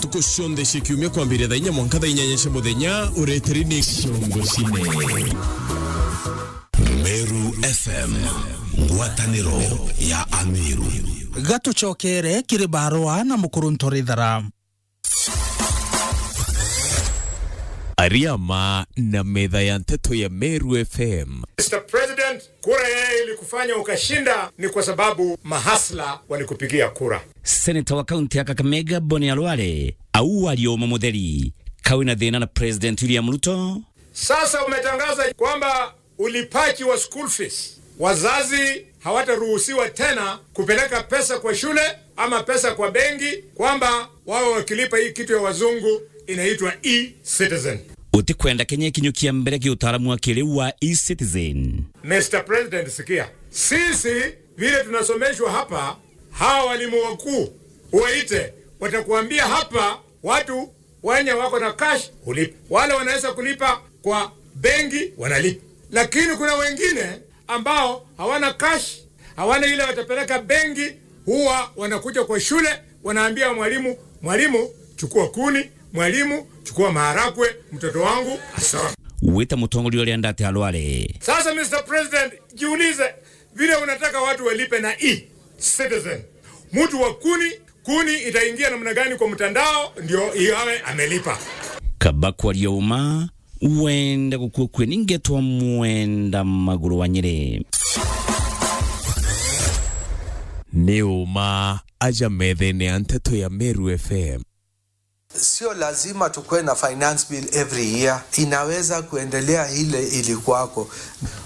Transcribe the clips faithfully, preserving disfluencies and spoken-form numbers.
Ntuku cionthe cia kiumia kwambiria thaa inya mwanka thaa inyanya cia muthenya, ureteri ni Ciongo Cine. Meru F M, ngwataniro ya Ameru. Gatucokere kiri barua na Mukuru Ntorithara. Ariama na metha ya nteto ya Meru F M. Mister President, kura yeye ilikufanya ukashinda ni kwa sababu mahasla walikupigia kura. Seneta wa kaunti ya Kakamega, Boni Alwale, au aria uma mutheri, kawi na thina na President William Ruto. Sasa umetangaza kwamba ulipaji wa school fees, wazazi hawataruhusiwa tena kupeleka pesa kwa shule ama pesa kwa benki, kwamba wawe wakilipa hii kitu ya wazungu inaitwa e-citizen. Utikwenda Kenya ikinyukia mbere ki utaalamu wa kiriu wa e-citizen. Mister President, sikia. Sisi vile tunasomeshwa hapa, hawa walimu wakuu waite, watakuambia hapa watu wenye wako na cash hulipa. Wale wanaweza kulipa kwa benki wanalipa. Lakini kuna wengine ambao hawana cash, hawana ile watapeleka benki, huwa wanakuja kwa shule, wanaambia mwalimu, "Mwalimu, chukua kuni, mwalimu, chukua maharagwe, mtoto wangu asome." Wita mutongoria uria ndate Alwale. Sasa, Mister President, jiulize, vile unataka watu walipe na e-citizen, mtu wa kuni, kuni itaingia namna gani kwa mtandao ndio yawe amelipa? Kaba kwaria uma, wenda gukua kue ni ngetwa Mwenda Maguru wa Nyeri. Ni uma aja methene ya nteto ya Meru F M. Sio lazima tukue na finance bill every year. Inaweza kuendelea ile ilikuwako.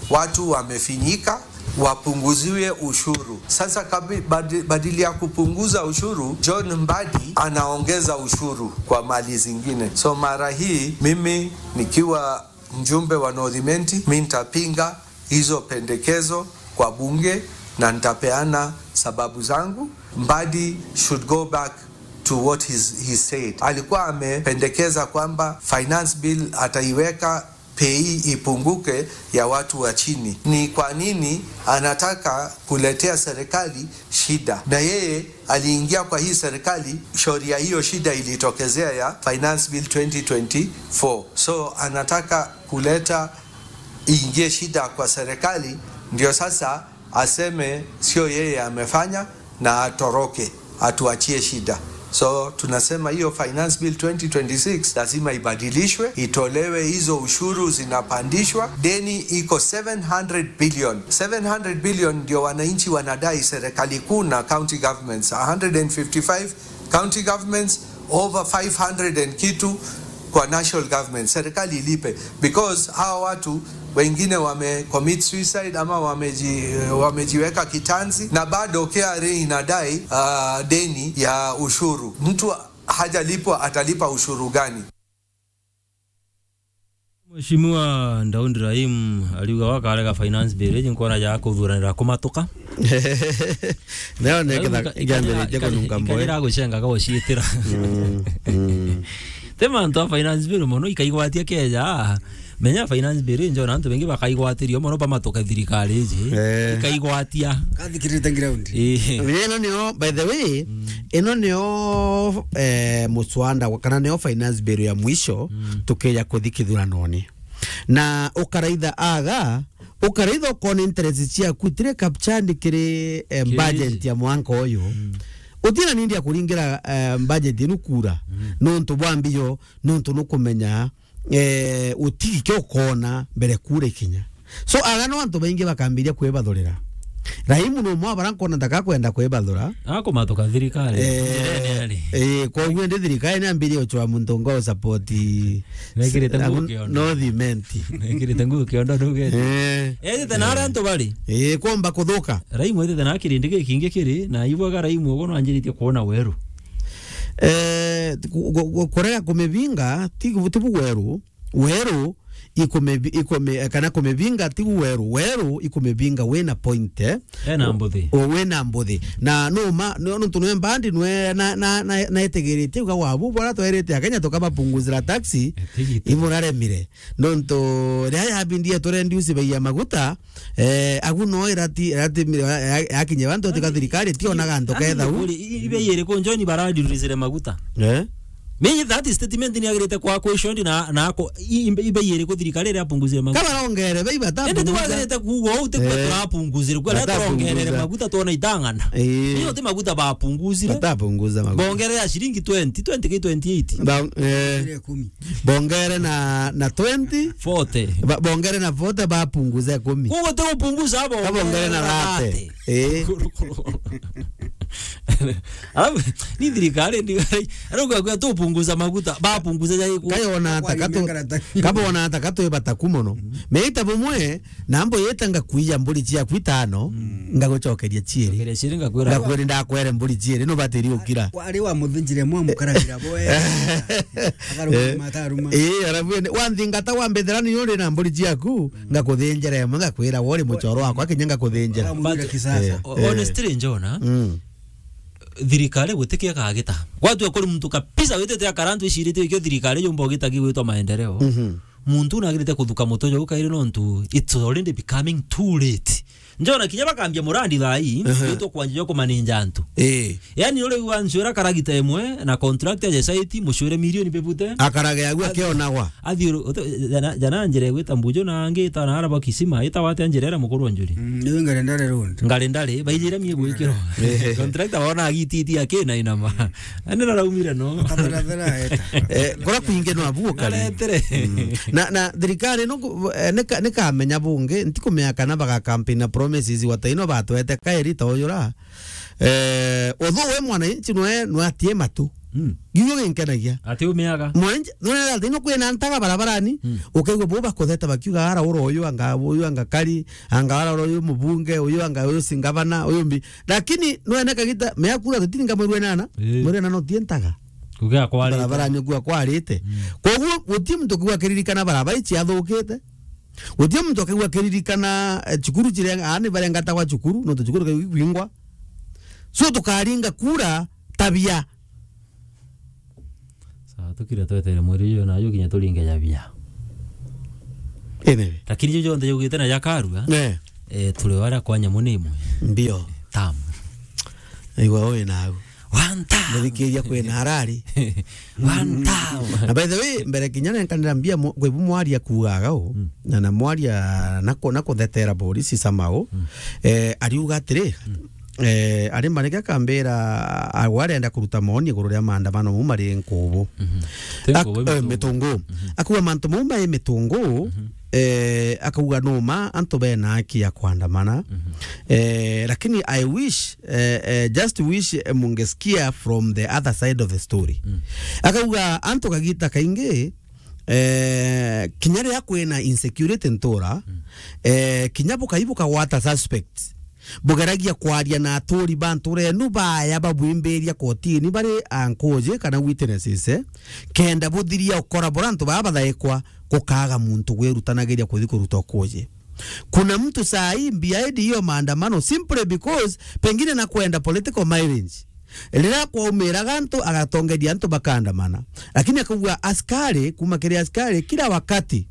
Watu wamefinyika, wapunguziwe ushuru. Sasa kabi-, badi-, badili ya kupunguza ushuru, John Mbadi anaongeza ushuru kwa mali zingine. So mara hii, mimi nikiwa mjumbe wa North Imenti, mi nitapinga hizo pendekezo kwa bunge na nitapeana sababu zangu. Mbadi should go back to what he's, he said. Alikuwa amependekeza kwamba finance bill ataiweka pei ipunguke ya watu wa chini. Ni kwa nini anataka kuletea serikali shida? Na yeye aliingia kwa hii serikali, shauri ya hiyo shida ilitokezea ya Finance Bill twenty twenty-four. So anataka kuleta, iingie shida kwa serikali, ndio sasa aseme sio yeye amefanya na atoroke, atuachie shida. So tunasema hiyo Finance Bill twenty twenty-six lazima ibadilishwe, itolewe hizo ushuru zinapandishwa. Deni iko seven hundred billion. Seven hundred billion ndio wananchi wanadai serikali kuu na county governments. A hundred and fifty-five county governments, over five hundred and kitu kwa national government. Serikali ilipe, because hawa watu wengine wame commit suicide ama wameji-, wamejiweka kitanzi, na bado K R A inadai, ah, deni ya ushuru. Mtu hajalipwa, atalipa ushuru gani? Mheshimiwa Daud Rahim ariuga wakarega finance bill iji nkwona ja kuthuranira kumatuka. Neo ne Rau ikitha-, ika-, ikiambiritie ikarira, kununga mboya. Ikarira gucengaga guciitira. Mm, mm. Ti mantu a finance bill mono ikaigwatia keja. Menya finance bill injo na antu bengi bakaigwatirio mono bamatuka thirikari iji. Eh. Ikaigwatia. Kathikirite ground. Eh. Menya ino nio, by the way, mm, ino nio, eh, muswanda wa-, kana nio finance bill ya mwisho, mm, tukeja kuthi kithuranone. Na ukaraitha aga, ukaraitha ukona interest ciaku itire captured kiri, eh, kiri budget ya mwanka uyu. Mm. Utina nindi ya kuringira, eh, budget inu kura. Mm. Nontu bwa mbio, nontu nukumenya, eh, utigi kio ukona mbere kura ikinya. So, aga no antu baingi bakambiria kwibathurira. Raimu no mwa bara nkona ndaka kwenda kwibathura. Akumatuka thirikari. Eh, njirene ari. Eh, koguo ndi thirikari ni ambirie uchwa muntu ngo support. Mekirite nguo kiondo. North Imenti. Mekirite nguo kiondo ndugete. Eh. Ethite na aria antu bari. Eh, kwomba kuthuka. Raimu ethite na kirindi gikingi kiri, na ibwaga Raimu uguo no anjiritie kuona weru. Eh, ku-, ku-, ku-, kurega kumibinga, ti, ti bu weru. Weru ikumibi-, ikumi-, kana kumibinga, ti weru. Weru ikumivinga wina point, eh? Ena mbuthi. O, wina mbuthi. Na numa, no, nontu nwe mbandi nwe na, na, na, na etegeritie uga wabu, bora twerite Akenya tukabapunguzira taxi, eh, tigiti. Imuraremire. Nontu ria yabindie turendiusi bei ya maguta, eh, agu no irati, irati, ya-, ya-, yakinye bantu tika thirikari, ti onaga antu ketha u. Kuri, i-, i-, bei iriku njoni baradiurisire maguta? Eh? Mimi that statement ni agirite kwa question na, na ako, i-, i-, ibe yeri ku thirikari iri apunguzire maguta. Kama rongere, bei bata. Ende tu agirite kuuga uu, ti kwa turapunguzire, kwa ria turongerere maguta tuona itang'ana. Eh. Iyo ti maguta bapunguzire. Batapunguza maguta. Bongere ya shilingi twenty, twenty ki twenty-eight. Ba-, eh. Ile kumi. Bongere na, na twenty. Forty. Ba-, bongere na forty, bapunguze kumi. Kuuga ti gupunguza abo. Kabongere na thirty. Eh. Alafu, ni thirikari, ni, arauga kwa tupunguza maguta, bapunguza ya iku. Kayona ata katu, kabona ata katu ibata ku mono. Meita bumwe, na mbo yeta ngakuija mburi ciaku itano, ngagucokeria ciiri. Cokeria ciiri ngakwira. Ngakwira ndakwere mburi ciiri, no batiri ukira. Kwa ari wa muthinjire mwa mukaragira boe. Akaruma mataruma. Eh, arabu ni, wa nthingata wa mbethera ni uri na mburi ciaku, ngakuthinjira imwe, ngakwira wori mucoro wakwa, kinya ngakuthinjira. Akamwira kisasa. Eh. O-, honestly, Njona, mm, thirikari gutikia kagita. Gwatua kuri muntu kabisa witite akara antu icirite ikio thirikari yumba ugita gigwitwa maendeleo. Mhm. Muntu nagirite kuthuka muto jau kairi nontu it's already becoming too late. Njona kinya bakambia murandi thaa ii, ehe, witwa kwanjia jo kumaninja antu. Eh. Yani uri gwa ncwira karagita imwe na contract ya site mucwire milioni bebute. Akarage agu akionagwa. Athi uru-, uta-, jana, jana njira igwita Mbuju na angi ita na araba kisima, ita wate njira ira mukuru wa njuri. Mm, niwe Ngarendare Road. Ngarendare, baijira mie gwikirwa. Eh. Contractor wona agititi akina inama. Ani naraumire no. Tathera thera eta. Eh, kora kwingi no abu ukari. Naretere. Mm. Na, na thirikari no ku-, eh, nika-, nikamenya bungi, ntikumenya kana baga campaign na promises wataino batwete kairi ta uyura. Eh, although we mwananchi nwe, nwe atie matu. Mm. Gigo ginkenagia. Ati umiaga. Mwananchi, nwe ati no kwina ntaga barabarani, mm, ukaigua bo bakutheta bakiuga ara ura uyu anga, uyu anga kari, anga ara ura uyu mubunge, uyu anga uyu singavana, uyu mbi. Lakini nwe ne kagita, mea kura tutini nga mweri wenana, eh, mweri wenana utie ntaga. Kugia kwarite. Barabarani kuga kwarite. Mm. Koguo, gutie muntu kuga kiririkana barabara ici athukite. Gutie muntu akaigua akiririkana, eh, cukuru cirenga, aani barengatagwa cukuru, nontu cukuru kaigwingwa. So tukaringa kura tabia. Sawa, tukire twetere mweri uyu na uyu kinya turinge jabia. Ene. Lakini ju jonthe jugite na jakarua, eh, eh, turi wara kwa nyamu ni imwe. Mbio. Tam. Igwa ui nagu. One time. Muthikiria kwina arari. One time. Na by the way, mbere kinya nenkanira mbia mu-, kwi bu mwaria kuugaga u, mm, na, na mwaria na ku-, na kuthetera borisi samau, mm, eh, ariuga atiri, mm, eh, ari marike akambira, a-, arenda kuruta maoni iguru ria maandamano mau mari nkubu. Mhm. Ti nkubu, eh, mitungu. Mitungu. Mhm. Akuga mantu mau mai mitungu, mhm, eh, akauga numa antu bena haki ya kuandamana. Mhm. Eh, lakini I wish eh, eh, just wish, eh, mungesikia from the other side of the story. Mm. Akauga, antu kagita kaingi, eh, kinya riria kwina insecurity ntura, mm, eh, kinya bukai bukagwata suspect, bugeragia kwaria na aturi ba ntura enu baya babwimbiria kotini bari ankuji kana witnesses, eh, kenda buthiria ukora bura antu baa bathaikwa, gukaga muntu gwirutanagiria kuthi kuruta ukuji. Kuna mtu saa hii behind hiyo maandamano simply because pengine na kwenda political mileage. Riria kwaumiraga antu, agatongeria antu bakaandamana. Lakini akauga askari, kuma kiri askari, kila wakati,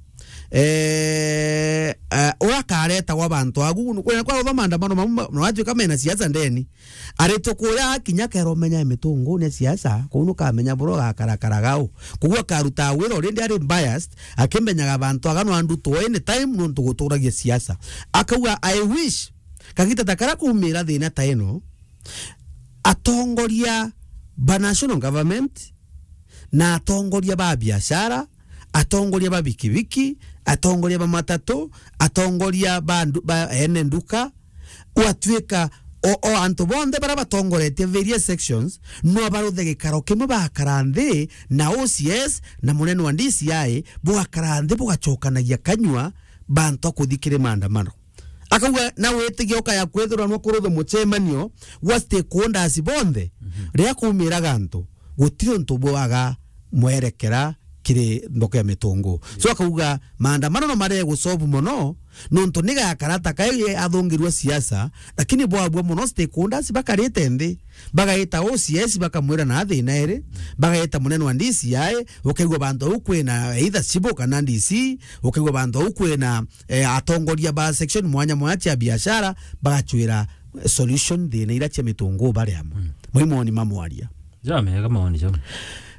eh, eh, urakareta gwa bantu agu, kwena kwa utho maandamano mamu, ma-, na watuika mena siasa ndeni. Aritwe kuria kinya keromenya mitungu ni siasa, kuu nukamenya buro gakarakara gau. Kugua karuta wira already ari biased, akimenyaga bantu agano andu to any time nontu guturagia siasa. Akauga, "I wish, kagita ta kara kumira thina ta ino, atongoria ba national government, na atongoria ba biashara, atongoria ba bikibiki, atongoria ba matatu, atongoria ba ndu-, ba ene nduka, gwatuika o, o antu bonthe baria batongoretie various sections, no baruthe gikaro kimwe, bagakara nthi na O C S na munene wa D C I, bugakara nthi bugacokanagia kanyua, bantu a kuthi kiri maandamano." Akauga, na witigia ukaya kwithirwa nwa kurutha mucemanio gwa stakeholders bonthe, mhm, riria kumiraga antu, gutiri untu bwaga mwerekera kiri mboka ya mitungu. So akauga, maandamano no mare gusolve mono, nontu ni gakara ta kai athungirwe siasa, lakini bwabua mono stakeholders bakarite nthi, bagaita O C S bakamwira na thina iri, bagaita munene wa D C I, ukaigua bantu au kwina either cibo kana D C, ukaigua bantu au kwina eh, atongoria ba section mwanya mwanya cia biashara bagacwira solution thina ira cia mitungu bari amwe. Mm. Mai moni ma mwaria. Jamega maoni jau.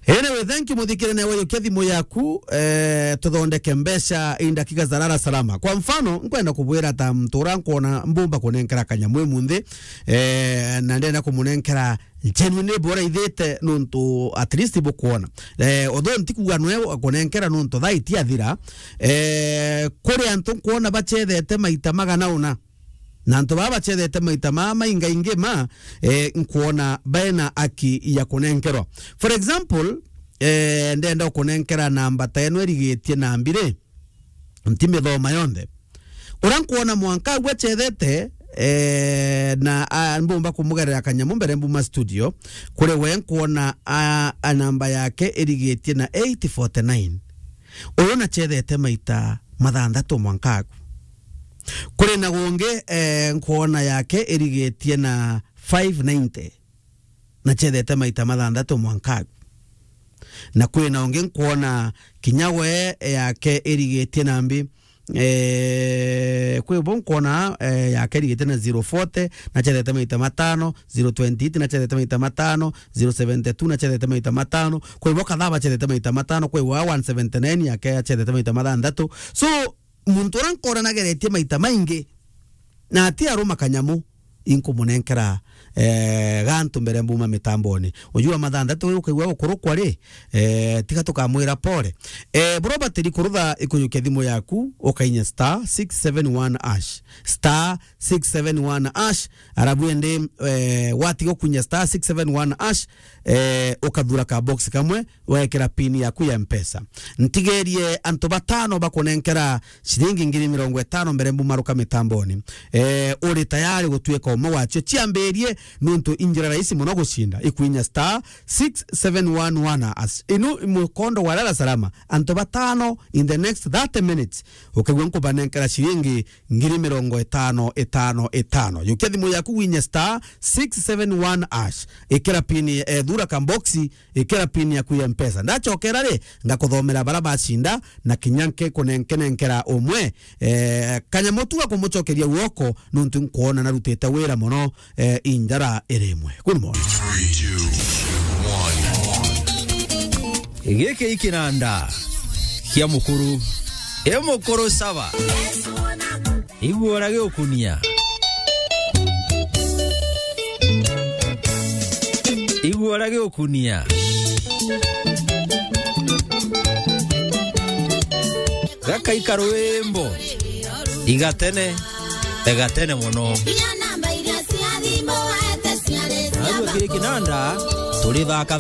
Anyway, thank you, muthikirania wa Yukia thimu yaku, eh, tuthondeke mbeca in dakika za lala salama. Kwa mfano, nkwenda kubwira ta mtu uria nkwona mbumba kunenkera kanyamu imunthi, eh, na ndenda kumunenkera genuinely bora ithite nuntu at least bukwona. Eh, although ntikuga nwe akunenkera nuntu thaa itiathira, eh, kuri antu nkwona bachethete maita magana una. Na antu baa bachethete maita maa maingaingi ma, eh, nkwona baena aki ya kunenkerwa. For example, eh, ndenda ukunenkera namba ta eno irigitie na mbiri, ntimithoma yonthe. Uria nkwona mwanka agu achethete, eh, na, a, mbumba kumugerera kanyamu mbere mbuma studio, kuri we nkwona, a, a namba yake irigitie na eight forty-nine. Uyu nachethete maita mathanthatu mwanka agu. Kuri na gungi, eh, nkwona yake irigitie na five ninety. Nachethete maita mathanthatu mwanka agu. Na kwi na ungi nkwona kinya we yake irigitie na mbi, eh, kwi bo nkwona, eh, yake irigitie na zero forty, nachethete maita matano, zero twenty-eight, nachethete maita matano, zero seventy-two, nachethete maita matano, kwi bo kadhaa bachethete maita matano, kwi wa one seventy-nine yake achethete maita mathanthatu. So, muntu uria nkona nageretie maita maingi, na ati aruma kanyamu, inkumunenkera, eh, gantu mbere mbuma mitamboni. Ujua mathanthatu uyu ukaigua gukurukwa ri, eh, tiga tukamwira pole. Eh, bro Batiri, kurutha ikuyukia thimu yaku, ukainya star six seven one hash. Star six seven one hash, arabu ende, eh, watiga kunya star six seven one hash, eh, ukathura ka box kamwe, wekera pin yaku ya Mpesa. Ntigerie antu batano bakunenkera ciringi ngiri mirongo itano mbere mbumaruka mitamboni. Eh, uri tayari gutuika umwe wacio? Ciambirie, nuntu injira rahisi muno gucinda. Ikwinya star six seven one one hash. Inu mukondo wa lala salama. Antu batano in the next thirty minutes, ukigua nkubanenkera ciringi ngiri mirongo itano, itano, itano. Yukia thimu yaku winye star six seven one hash. Ikira pin, eh, thura kamboxi, ikira pin yaku ya Mpesa. Ndachokera ri, ngakuthomera bara bacinda, na kinya nke kunenkenenkera umwe, eh, kanyamu tu ga kumucokeria guoko, nuntu nkwona narutite wira muno, eh, injara iri imwe. Good morning. Giki ikinanda kia mukuru. E mukuru saba. Igua uria giukunia. Igua uria giukunia. Gakaika rwimbo. Igatene. Igatene muno. Agwe kiri kinanda, turi thaka